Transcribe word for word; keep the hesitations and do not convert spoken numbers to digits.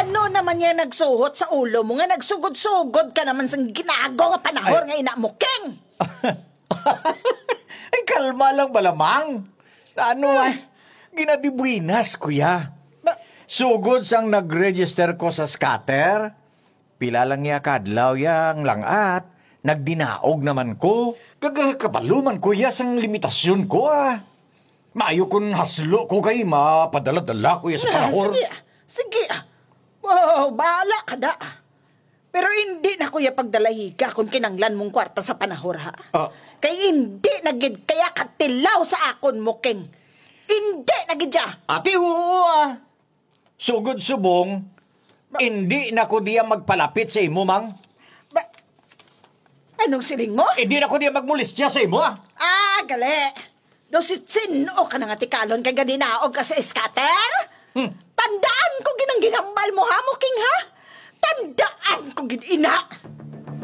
Ano naman yan nagsuhot sa ulo mo nga nagsugod-sugod ka naman sang ginago nga panahor Ay. nga ina mo, King? Ay, kalma lang bala, Mang. Ano ay? Ginadibuinas ko ya. Ba- Sugod sang nag-register ko sa scatter, pila lang ya kadlaw yang langat, nagdinaog naman ko. Kag kabaluman ko ya sang limitasyon ko, ah. Maayo kun haslo ko kay mapadala-dala ko ya sa Ah, panahon. Sige, ah. Sige, ah. Wow, bahala ka da, ah. Pero hindi na ko ya pagdalahiga kung kinanglan mong kwarta sa panahor, ha? Ah. Kay hindi na gid kaya katilaw sa akon mo, King. Hindi na gid ya. Ate, oo, ah. Sugod subong, hindi na ko diya magpalapit sa imo, Mang. Ba, anong siling mo? Hindi na ko diya magmolestya sa imo, ah. Ah, gali. Do si Chin-o ka na nga tikalon kay gadinaog ka sa scatter? Hmm. Tandaan ko ginang ginhambal mo, ha, mo, King, ha? Tandaan ko gid ina.